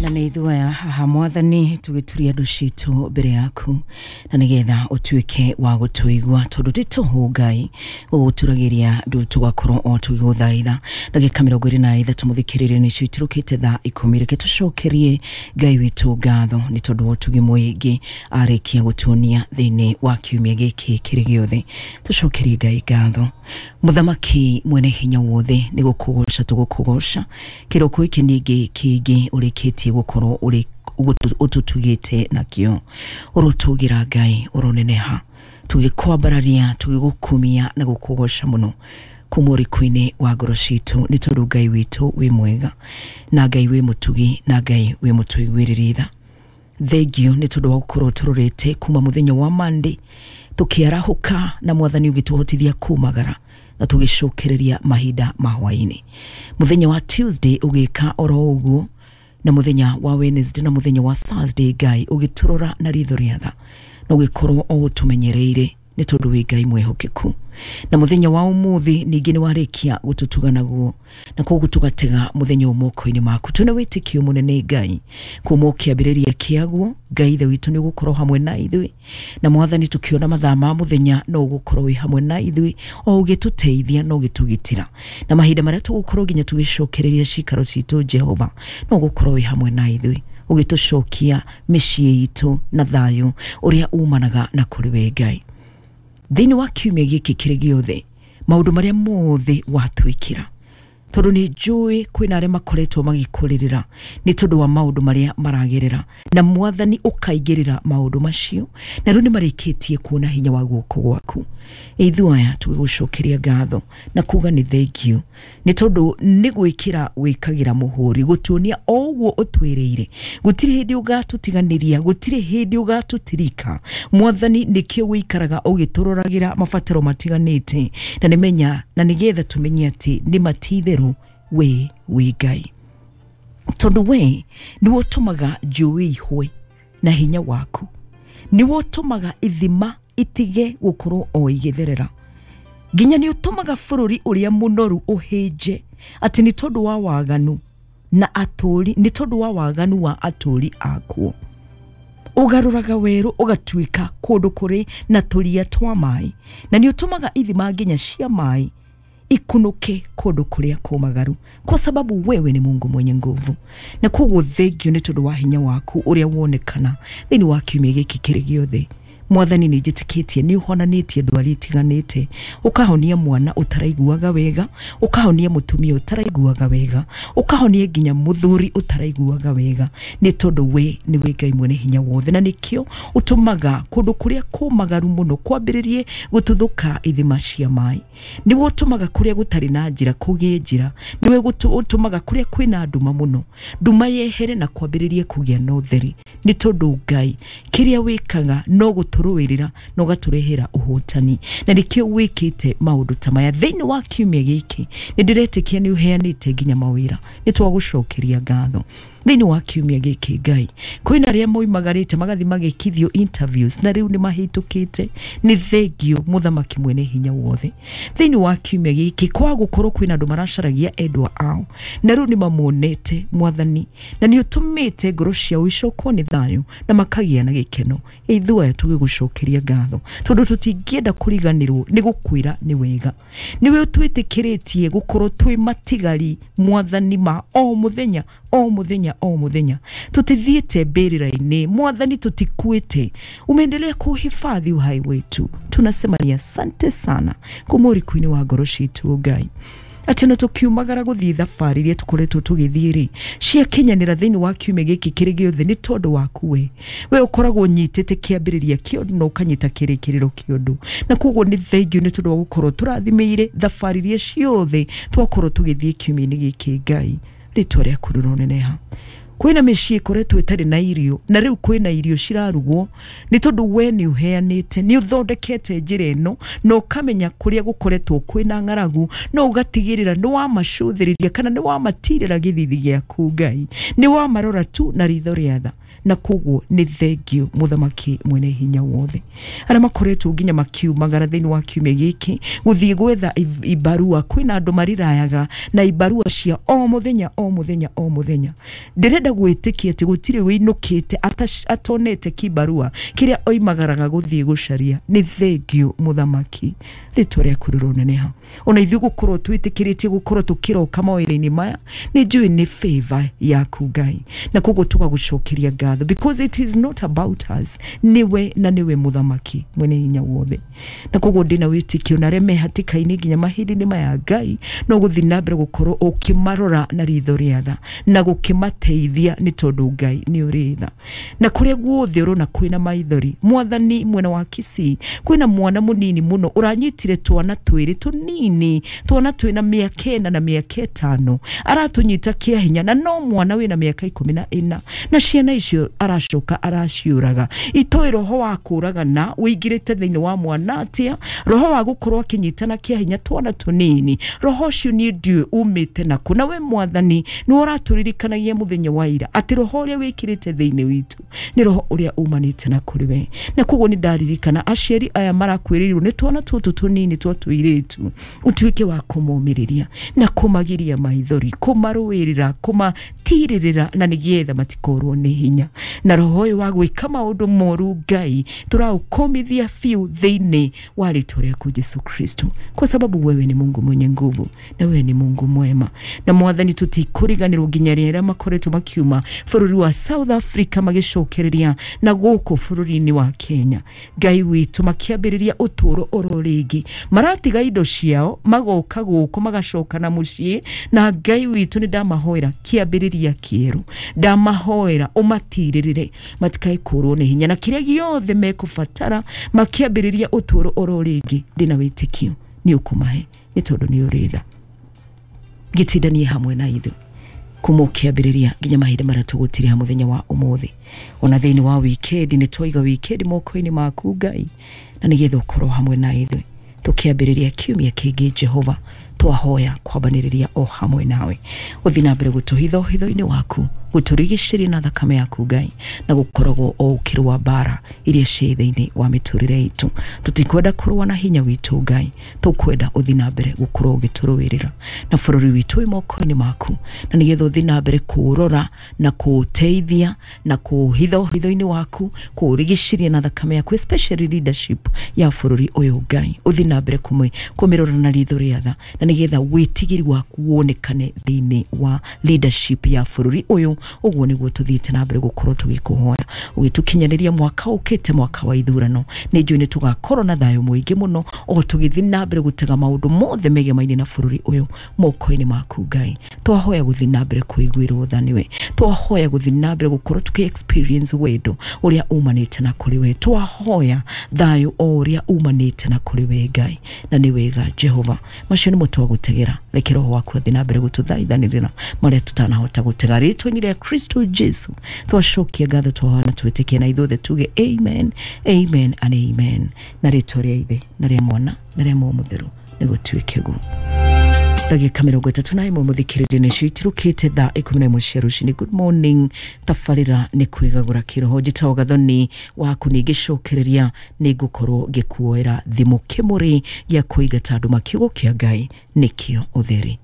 Na nĩ ithuaya haha Mwathani, tũgĩturia andũ citũ mbere yaku na nĩgetha ũtuĩke wa gũtũigua, tondũ ti tũhũ Ngai gũgũturagĩria ndu tũgakorwo o tũgĩgũthaitha. Ndagĩka 23 mũthikĩrĩrio nĩcio iturũkĩte thaa 10. Reke tũcokerie Ngai witũ ngatho nĩ tondũ wa ũtugi mũingĩ arĩkia gũtuonia thĩinĩ wa kiumia gĩkĩ kĩrĩ gĩothe. Tũcokerie Ngai ngatho. Mũthamaki mwene hinya wothe, nĩ gũkũgoca tũgũkũgoca kĩroko gĩkĩ ningĩ kĩngĩ ũrĩkĩtie gũkorwo ũrĩ ũtũtugĩte nakĩo. Ũrotũgĩra Ngai, ũroneneha, tũgĩkwambararia, tũgĩgũkumia na gũkũgoca mũno kuma ũriku-inĩ wa ngoro citũ, nĩ tondũ Ngai witũ wĩ mwega na Ngai wĩ mũtugi na Ngai wĩ mũtũiguĩrĩri tha. Thengio nĩ tondũ wa gũkorwo tũrorete kuma mũthenya wa Monday tũkĩarahũka na Mwathani ũgĩtũhotithia kumagara na tũgĩcokereria mahinda ma hwaĩ-inĩ. Mũthenya wa Tuesday ũgĩka oro ũguo, na mũthenya wa Wednesday na mũthenya wa Thursday Ngai ũgĩtũrora na ritho rĩa tha na ũgĩkorwo o ũtũmenyereire, nĩ tondũ wĩ Ngai mwĩhokeku. Na mũthenya wa ũmũthĩ ningĩ nĩ warĩkia gũtũtuga naguo, na koguo tũgatega mũthenya ũyũ moko-inĩ maku. Twĩna wĩtĩkio mũnene Ngai kuma o kĩambĩrĩria kĩaguo, Ngai ithe witũ nĩ ũgũkorwo hamwe na ithuĩ, na Mwathani tũkĩona mathaa ma mũthenya no ũgũkorwo wĩ hamwe na ithuĩ o ũgĩtũteithia na ũgĩtũgitĩra, na mahinda marĩa tũgũkorwo nginya tũgĩcokereria cikaro citũ, Jehova no ũgũkorwo wĩ hamwe na ithuĩ ũgĩtũcokia mĩciĩ itũ na thayũ ũrĩa umanaga na kũrĩ we Ngai. Thĩinĩ wa kiumia gĩkĩ kĩrĩ gĩothe, maũndũ marĩa mothe watwĩkĩra, tondũ nĩ njũĩ kwĩna arĩa makoretwo magĩkũrĩrĩra nĩ tondũ wa maũndũ marĩa maragerera, na Mwathani ũkaingĩrĩra maũndũ macio, na rĩu nĩ marĩkĩtie kuona hinya wa guoko gwaku. Ithuĩ aya tũgĩgũcokeria ngatho na kuga nĩ thengio, nĩ tondũ nĩ gwĩkĩra wĩkagĩra mũhũri gũtuonia o ũguo ũtwĩrĩire. Gũtirĩ hĩndĩ ũgatũtiganĩria, gũtirĩ hĩndĩ ũgatũtirika Mwathani. Nĩkĩo wĩikaraga ũgĩtũroragĩra mabataro matiganĩte, na nĩmenya na nĩgetha tũmenye atĩ nĩ matitherũ we wĩ Ngai, tondũ we nĩwe ũtũmaga njũĩ ihwe na hinya waku, nĩwe ũtũmaga ithima itige gũkorwo o igĩtherera, nginya nĩ ũtũmaga bũrũri ũrĩa mũnoru ũhĩnje atĩ nĩ tondũ wa waganu na atũri, nĩ tondũ wa waganu wa atũri akuo. Ũgarũraga werũ ũgatuĩka kũndũ kũrĩ na tũria twa maĩ, na nĩ ũtũmaga ithima nginya cia maĩ ikunuke kũndũ kũrĩa kũmagaru, kwa sababu wewe ni Mungu mwenye nguvu. Na koguo thengio nĩ tondũ wa hinya waku ũrĩa wonekana thĩinĩ wa kiumia gĩkĩ kĩrĩ gĩothe. Mwathani nĩ njĩtĩkĩtie nĩ ũhonanĩtie ndwari itiganĩte, ũkahonia mwana ũtaraiguaga wega, ũkahonia mũtumia ũtaraiguaga wega, ũkahonia nginya mũthuri ũtaraiguaga wega, nĩ tondũ we nĩwe Ngai mwene hinya wothe. Na nĩkĩo ũtũmaga kũndũ kũrĩa kũmagaru mũno kwambĩrĩrie gũtuthũka ithima cia maĩ, nĩwe ũtũmaga kũrĩa gũtarĩ na njĩra kũgĩe njĩra, nĩwe ũtũmaga kũrĩa kwĩna nduma mũno nduma yehere na kwambĩrĩrie kũgĩa na ũtheri, nĩ tondũ Ngai kĩrĩa wĩkaga no gũtũrũĩrĩra na ũgatũrehera ũhotani, na nĩkĩo wĩkĩte maũndũ ta maya thĩinĩ wa kiumia gĩkĩ. Nĩ ndĩretĩkia nĩ ũheanĩte nginya mawĩra, nĩ twagũcokeria ngatho thĩinĩ wa kiumia gĩkĩ. Ngai, kwĩna arĩa moimagarĩte magathi magĩkithio interviews na rĩu nĩ mahĩtũkĩte, nĩ thengio Mũthamaki mwene hinya wothe. Thĩinĩ wa kiumia gĩkĩ kwa gũkorwo kwĩna andũ maracaragia endwa ao na rĩu nĩ mamonete Mwathani, na nĩ ũtũmĩte ngoro ciao icokwo nĩ thayũ na makagĩa na gĩkeno. Ithuĩ aya tũgĩgũcokeria ngatho, tondũ tũtingĩenda kũriganĩrwo nĩ gũkwĩra nĩ wega. Nĩwe ũtwĩtĩkĩrĩtie gũkorwo twĩ matigari Mwathani ma o mũthenya o mũthenya o mũthenya. Tutithiĩte mbĩrĩra-inĩ Mwathani, tutikuĩte, umeendelea kuhifadhi uhai wetu. Tunasema ni asante sana kuma ũriku-inĩ wa ngoro citũ Ngai, atĩ ona tũkiumagara gũthiĩ thabarĩ iria tũkoretwo tũgĩthiĩ rĩ, ciakinyanĩra thĩinĩ wa kiumia gĩkĩ kĩrĩ gĩothe, nĩ tondũ waku we. We ũkoragwo ũnyitĩte kĩambĩrĩria kĩa ũndũ na ũkanyita kĩrĩkĩrĩro kĩa ũndũ, na koguo nĩ thengio nĩ tondũ wa gũkorwo tũrathimĩire thabarĩ iria ciothe twakorwo tũgĩthiĩ kiumia-inĩ gĩkĩ. Ngai, rĩtwa rĩaku rĩroneneha. Kwĩna mĩciĩ ĩkoretwo ĩtarĩ na irio na rĩu kwĩna irio cirarugwo, nĩ tondũ we nĩ ũheanĩte, nĩ ũthondekete njĩra ĩno na ũkamenya kũrĩa gũkoretwo kwĩna ng'aragu, no ũgatigĩrĩra nĩ wamacũthĩrĩria kana nĩ wamatirĩra gĩthithi gĩaku. Ngai, nĩ wamarora tu na ritho rĩa tha. Na koguo nĩ thengio mũthamaki mwene hinya wothe. Arĩa makoretwo nginya makiumagara thĩinĩ wa kiumia gĩkĩ gũthiĩ gwetha ibarua, kwĩna andũ marirayaga na ibarua cia o mũthenya o mũthenya o mũthenya. Ndĩrenda gwĩtĩkia atĩ gũtirĩ wĩinũkĩte atonete kibarua kĩrĩa oimagaraga gũthiĩ gũcaria. Nĩ thengio mũthamaki, rĩtwa rĩaku rĩroneneha. Ona ithuĩ gũkorwo twĩtĩkĩrĩtie gũkorwo tũkĩroka mawĩra-inĩ maya, nĩ njũĩ nĩ favor yaku Ngai, na koguo tũgagũcokeria ngatho, because it is not about us, nĩwe na nĩwe mũthamaki mwene hinya wothe. Na koguo ndĩna wĩtĩkio na arĩa me hatĩka-inĩ nginya mahinda-inĩ maya Ngai, no gũthiĩ na mbere gũkorwo ũkĩmarora na ritho rĩa tha na gũkĩmateithia, nĩ tondũ Ngai nĩ ũrĩ tha. Na kũrĩa guothe ũrona kwĩna maithori, mwathani mwena wa Kisii kwĩna mwana mũnini mũno ũranyitire twana twĩrĩ tũnini, twana twĩna mĩaka 4 na mĩaka 5, aratũnyita kĩa hinya, na no mwana wĩna mĩaka 14, na ciana icio aracoka araciũraga. Itoĩ roho wa kũragana wĩingĩrĩte thĩinĩ wa mwana atĩa, roho wa gũkorwo akĩnyitana kĩa hinya twana tũnini, roho ũcio niĩ ndiũĩ umĩte nakũ. Na we mwathani nĩ ũratũririkanagia mũthenya wa ira atĩ roho ũrĩa wĩkĩrĩte thĩinĩ witũ nĩ roho ũrĩa umanĩte na kũrĩ we. Na koguo nĩ ndaririkana aciari aya marakuĩrĩirwo nĩ twana tũtũ tũnini twa tũirĩtu, ũtuĩke wa kũmomĩrĩria na kũmagiria maithori, kũmarũĩrĩra, kũmatirĩrĩra, na nĩgetha matikorwo nĩ hinya. Na roho ũyũ wa gwĩka maũndũ moru Ngai tũraũkomithia biũ thĩinĩ wa rĩtwa rĩaku Jesu Kristo, kwa sababu wewe ni Mungu mwenye nguvu na wewe ni Mungu mwema. Na mwathani tũtikũriganĩrwo nginya rĩrĩa makoretwo makiuma bũrũri wa South Africa magĩcokereria na gũkũ bũrũri-inĩ wa Kenya, Ngai witũ makĩambĩrĩria ũtũũro oro rĩngĩ, maratiga indo ciao magoka gũkũ magacoka na mũciĩ. Na Ngai witũ nĩ ndamahoera kĩambĩrĩria kĩerũ, ndamahoera ũmatirĩrĩre matikae kũrwo nĩ hinya, na kĩrĩa gĩothe mekũbatara makĩambĩrĩria ũtũũro oro rĩngĩ, ndĩna wĩtĩkio nĩ ũkũmahe, nĩ tondũ nĩ ũrĩ tha. Gĩtindanie hamwe na ithuĩ kuma ũkĩambĩrĩria nginya mahinda marĩa tũgũtirĩha mũthenya wa ũmũthĩ. Ona thĩinĩ wa wikendi nĩ twaiga wikendi moko-inĩ maku Ngai, na nĩgetha ũkorwo hamwe na ithuĩ tũkĩambĩrĩria kiumia kĩngĩ. Jehova twahoya kwambanĩrĩria o hamwe nawe, ũthiĩ na mbere gũtũhitha ũhitho-inĩ waku, gũtũrigicĩria na thakame yaku Ngai, na gũkoragwo o ũkĩrũa mbara iria ciĩ thĩinĩ wa mĩtũrĩre itũ. Tũtikwenda kũrũa na hinya witũ Ngai, tũkwenda ũthiĩ na mbere gũkorwo ũgĩtũrũĩrĩra, na bũrũri witũ wĩ moko-inĩ maku, na nĩgetha ũthiĩ na mbere kũũrora na kũũteithia na kũũhitha ũhitho-inĩ waku, kũũrigicĩria na thakame yaku, especially leadership ya bũrũri ũyũ Ngai, ũthiĩ na mbere kũmĩrora na ritho rĩa tha, na nĩgetha wĩtigĩri waku wonekane thĩinĩ wa leadership ya bũrũri ũyũ. Ũguo nĩguo tũthiĩte na mbere gũkorwo tũgĩkũhoya ũgĩtũkinyanĩria mwaka ũkĩte, mwaka wa ithurano. Nĩ njũĩ nĩ tũgakorwo na thayũ mũingĩ mũno o tũgĩthiĩ na mbere gũtega maũndũ mothe megemaine na bũrũri ũyũ moko-inĩ maku Ngai. Twahoya gũthiĩ na mbere kũiguĩrwo tha nĩwe, twahoya gũthiĩ na mbere gũkorwo tũkĩ experience wendo ũrĩa umanĩte na kũrĩ we, twahoya thayũ o ũrĩa umanĩte na kũrĩ we Ngai, na nĩ wega Jehova. Macio nĩmo twagũtegera, reke roho waku athiĩ na mbere gũtũthaithanĩrĩra marĩa tũtanahota gũtega. Rĩtwa-inĩ rĩa Kristo Jesu twacokia ngatho, twahoya na twĩtĩkie, na ithuothe tuge amen, amen and amen. Na rĩtwa rĩa Ithe na rĩa Mwana na rĩa Muoyo Mũtheru nĩgũtuĩke guo. Ndagĩka 31 mũthikĩrĩria nĩcio itirũkĩte thaa 11 cia rũcinĩ. Good morning, tabarĩra nĩ kwĩgagũra kĩroho. Njĩtagwo Gathoni waku, nĩ ngĩcokereria nĩ ngũkorwo ngĩkuoera thimũ kĩmũrĩ gĩa kũingata andũ makiugo kĩa Ngai nĩkĩo ũtheri.